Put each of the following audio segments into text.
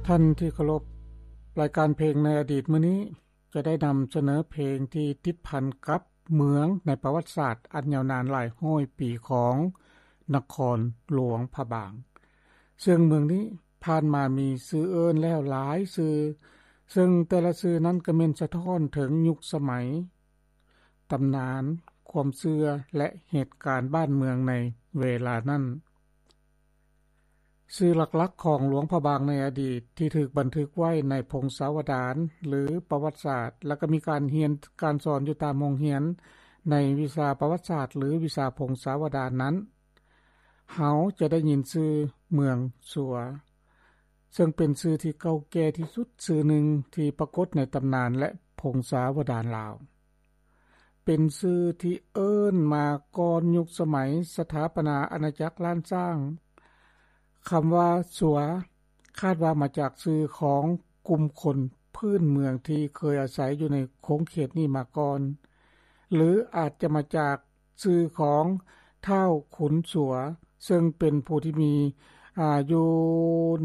ທ່ານທີ່ເຄົາລົບ, ລາຍການເພງໃນອະດີດມື້ນີ້ຈະໄດ້ນຳສະເໜີເພງທີ່ຕິດພັນກັບເມືອງໃນປະຫວັດສາດອັນຍາວນານຫຼາຍຮ້ອຍປີຂອງນະຄອນຫຼວງພະບາງ. ເຊິ່ງເມືອງນີ້ຜ່ານມາມີຊື່ເອີ້ນແລ້ວຫຼາຍຊື່, ເຊິ່ງແຕ່ລະຊື່ນັ້ນກໍແມ່ນສະທ້ອນເຖິງຍຸກສະໄໝ, ຕຳນານ, ຄວາມເຊື່ອ ແລະ ເຫດການບ້ານເມືອງໃນເວລານັ້ນ. ຊື່ຫຼັກໆຂອງຫຼວງພະບາງໃນອະດີດທີ່ຖືກບັນທຶກໄວ້ໃນພົງສາວະດານ ຫຼື ປະຫວັດສາດ ແລະ ກໍມີການຮຽນການສອນຢູ່ຕາມໂຮງຮຽນໃນວິຊາປະຫວັດສາດ ຫຼື ວິຊາພົງສາວະດານນັ້ນ, ເຮົາຈະໄດ້ຍິນຊື່ເມືອງສັວ, ເຊິ່ງເປັນຊື່ທີ່ເກົ່າແກ່ທີ່ສຸດຊື່ໜຶ່ງທີ່ປາກົດໃນຕຳນານ ແລະ ພົງສາວະດານລາວ. ເປັນຊື່ທີ່ເອີ້ນມາກ່ອນຍຸກສະໄໝສະຖາປະນາອານາຈັກລ້ານຊ້າງ. ຄຳວ່າສັວ ຄາດວ່າມາຈາກຊື່ຂອງກຸ່ມຄົນພື້ນເມືອງທີ່ເຄີຍອາໄສຢູ່ໃນຂົງເຂດນີ້ມາກ່ອນ ຫຼື ອາດຈະມາຈາກຊື່ຂອງທ້າວຂຸນສັວ ເຊິ່ງເປັນຜູ້ທີ່ມີ ອາ ຢູ່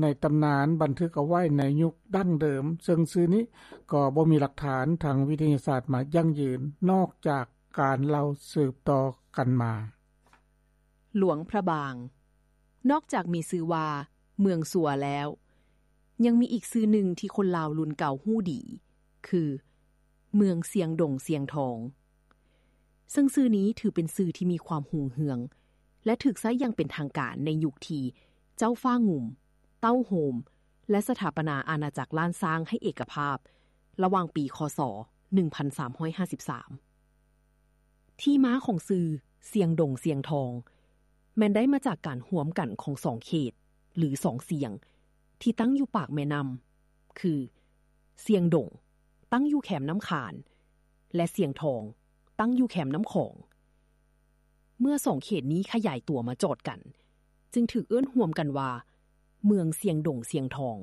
ໃນຕຳນານບັນທຶກເອົາໄວ້ໃນຍຸກດັ້ງເດີມ, ເຊິ່ງຊື່ນີ້ກໍບໍ່ມີຫຼັກຖານທາງວິທະຍາສາດມາຢັ້ງຢືນ ນອກຈາກການເລົ່າສືບຕໍ່ກັນມາ. ຫຼວງພະບາງ ນອກຈາກມີຊື່ວ່າເມືອງສັວແລ້ວ, ຍັງມີອີກຊື່ໜຶ່ງທີ່ຄົນລາວລຸ້ນເກົ່າຮູ້ດີ ຄື ເມືອງຊຽງດົງຊຽງທອງ. ເຊິ່ງຊື່ນີ້ຖືເປັນຊື່ທີ່ມີຄວາມຮຸ່ງເຮືອງ ແລະ ຖືກໃຊ້ຢ່າງເປັນທາງການໃນຍຸກທີ່ເຈົ້າຟ້າງຸ່ມ, ເຕົ້າໂຮມ ແລະ ສະຖາປະນາອານາຈັກລ້ານຊ້າງໃຫ້ເອກະພາບ ລະຫວ່າງປີ ຄ.ສ. ໜຶ່ງພັນສາມຮ້ອຍຫ້າສິບສາມ. ທີ່ມາຂອງຊື່ຊຽງດົງຊຽງທອງ ແມ່ນໄດ້ມາຈາກການຮວມກັນຂອງສອງເຂດ ຫຼື ສອງຊຽງ ທີ່ຕັ້ງຢູ່ປາກແມ່ນ້ຳ ຄື ຊຽງດົງ ຕັ້ງຢູ່ແຄມນ້ຳຄານ ແລະ ຊຽງທອງ ຕັ້ງຢູ່ແຄມນ້ຳຂອງ. ເມື່ອສອງເຂດນີ້ຂະຫຍາຍຕົວມາຈອດກັນ ຈຶ່ງຖືກເອີ້ນຮວມກັນວ່າ ເມືອງຊຽງດົງຊຽງທອງ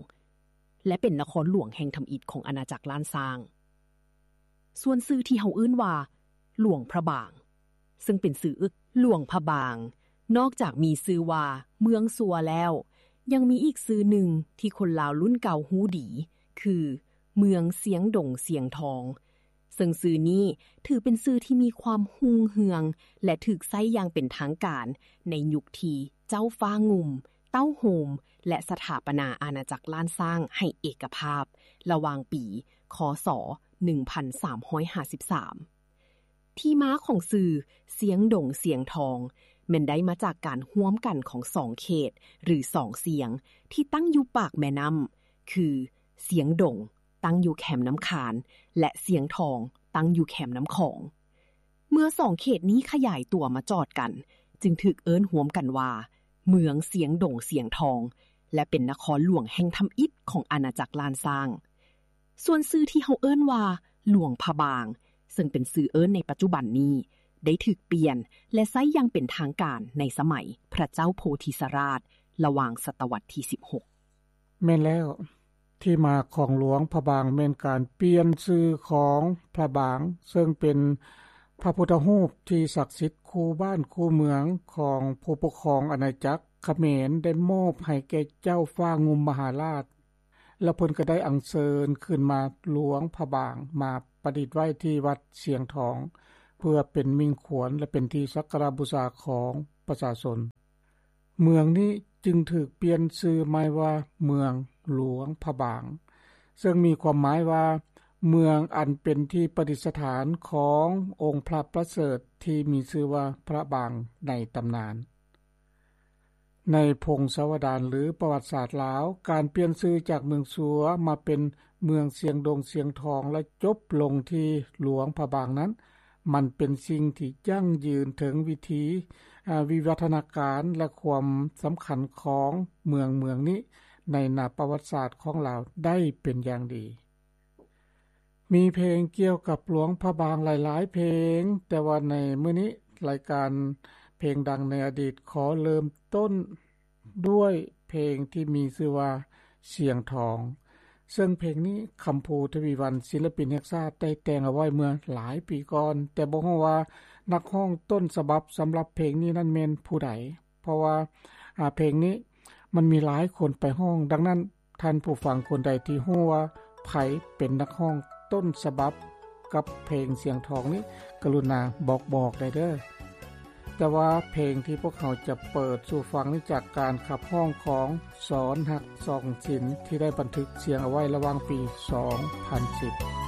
ແລະ ເປັນນະຄອນຫຼວງແຫ່ງທຳອິດຂອງອານາຈັກລ້ານຊ້າງ. ສ່ວນຊື່ທີ່ເຮົາເອີ້ນວ່າ ຫຼວງພະບາງ ເຊິ່ງເປັນຊື່ອຶກ ຫຼວງພະບາງ ນອກຈາກມີຊື່ວ່າເມືອງສັວແລ້ວ, ຍັງມີອີກຊື່ໜຶ່ງທີ່ຄົນລາວລຸ້ນເກົ່າຮູ້ດີ ຄື ເມືອງຊຽງດົງຊຽງທອງ, ເຊິ່ງຊື່ນີ້ຖືເປັນຊື່ທີ່ມີຄວາມຮຸ່ງເຮືອງ ແລະ ຖືກໃຊ້ຢ່າງເປັນທາງການໃນຍຸກທີ່ເຈົ້າຟ້າງຸ່ມ, ເຕົ້າໂຮມ ແລະ ສະຖາປະນາອານາຈັກລ້ານຊ້າງໃຫ້ເອກະພາບ ລະຫວ່າງປີ ຄ.ສ. ໜຶ່ງພັນສາມຮ້ອຍຫ້າສິບສາມ. ທີ່ມາຂອງຊື່ຊຽງດົງຊຽງທອງ ແມ່ນໄດ້ມາຈາກການຮວມກັນຂອງສອງເຂດ ຫຼື ສອງຊຽງ ທີ່ຕັ້ງຢູ່ປາກແມ່ນ້ຳ ຄື ຊຽງດົງ ຕັ້ງຢູ່ແຄມນ້ຳຄານ ແລະ ຊຽງທອງ ຕັ້ງຢູ່ແຄມນ້ຳຂອງ. ເມື່ອສອງເຂດນີ້ຂະຫຍາຍຕົວມາຈອດກັນ ຈຶ່ງຖືກເອີ້ນຮວມກັນວ່າ ເມືອງຊຽງດົງຊຽງທອງ ແລະ ເປັນນະຄອນຫຼວງແຫ່ງທຳອິດຂອງອານາຈັກລ້ານຊ້າງ. ສ່ວນຊື່ທີ່ເຮົາເອີ້ນວ່າ ຫຼວງພະບາງ ເຊິ່ງເປັນຊື່ເອີ້ນໃນປັດຈຸບັນນີ້ ໄດ້ຖືກປ່ຽນ ແລະ ໃຊ້ຢ່າງເປັນທາງການໃນສະໄໝພະເຈົ້າໂພທິສະລາດ ລະຫວ່າງສະຕະວັດທີສິບຫົກ. ແມ່ນແລ້ວ, ທີ່ມາຂອງຫຼວງພະບາງແມ່ນການປ່ຽນຊື່ຂອງພະບາງ, ເຊິ່ງເປັນພະພຸດທະຮູບທີ່ສັກສິດຄູ່ບ້ານຄູ່ເມືອງຂອງຜູ້ປົກຄອງອານາຈັກຂະເໝນ ໄດ້ມອບໃຫ້ແກ່ເຈົ້າຟ້າງຸ່ມມະຫາລາດ. ແລ້ວເພິ່ນກໍໄດ້ອັນເຊີນຂຶ້ນມາຫຼວງພະບາງ ມາປະດິດໄວ້ທີ່ວັດຊຽງທອງ ເພື່ອເປັນມິ່ງຂວັນ ແລະ ເປັນທີ່ສັກກາລະບູຊາຂອງປະຊາຊົນ. ເມືອງນີ້ຈຶ່ງຖືກປ່ຽນຊື່ໃໝ່ວ່າເມືອງຫຼວງພະບາງ, ເຊິ່ງມີຄວາມໝາຍວ່າ ເມືອງອັນເປັນທີ່ປະດິດສະຖານຂອງອົງພະປະເສີດທີ່ມີຊື່ວ່າພະບາງໃນຕຳນານ. ໃນພົງສາວະດານ ຫຼື ປະຫວັດສາດລາວ, ການປ່ຽນຊື່ຈາກເມືອງສັວມາເປັນເມືອງຊຽງດົງຊຽງທອງ ແລະ ຈົບລົງທີ່ຫຼວງພະບາງນັ້ນ, ມັນເປັນສິ່ງທີ່ຢັ້ງຢືນເຖິງວິຖີ, ອາ, ວິວັດທະນາການ ແລະ ຄວາມສຳຄັນຂອງເມືອງເມືອງນີ້ໃນໜ້າປະຫວັດສາດຂອງລາວໄດ້ເປັນຢ່າງດີ. ມີເພງກ່ຽວກັບຫຼວງພະບາງຫຼາຍໆເພງ, ແຕ່ວ່າໃນມື້ນີ້ລາຍການເພງດັງໃນອະດີດຂໍເລີ່ມຕົ້ນດ້ວຍເພງທີ່ມີຊື່ວ່າ ສຽງທອງ, ເຊິ່ງເພງນີ້ຄຳພູ ທະວີວັນ ສິນລະປິນແຫ່ງຊາດ ໄດ້ແຕ່ງເອົາໄວ້ເມື່ອຫຼາຍປີກ່ອນ, ແຕ່ບໍ່ຮູ້ວ່ານັກຮ້ອງຕົ້ນສະບັບສຳລັບເພງນີ້ນັ້ນແມ່ນຜູ້ໃດ, ເພາະວ່າ ອາ ເພງນີ້ມັນມີຫຼາຍຄົນໄປຮ້ອງ, ດັ່ງນັ້ນ ທ່ານຜູ້ຟັງຄົນໃດທີ່ຮູ້ວ່າໃຜເປັນນັກຮ້ອງຕົ້ນສະບັບກັບເພງສຽງທອງນີ້ ກະລຸນາບອກໆໄດ້ເດີ້. ແຕ່ວ່າເພງທີ່ພວກເຮົາຈະເປີດສູ່ຟັງນີ້ຈາກການຂັບຮ້ອງຂອງສອນຮັກ ສອງສິນ ທີ່ໄດ້ບັນທຶກສຽງເອົາໄວ້ລະຫວ່າງປີສອງພັນສິບ.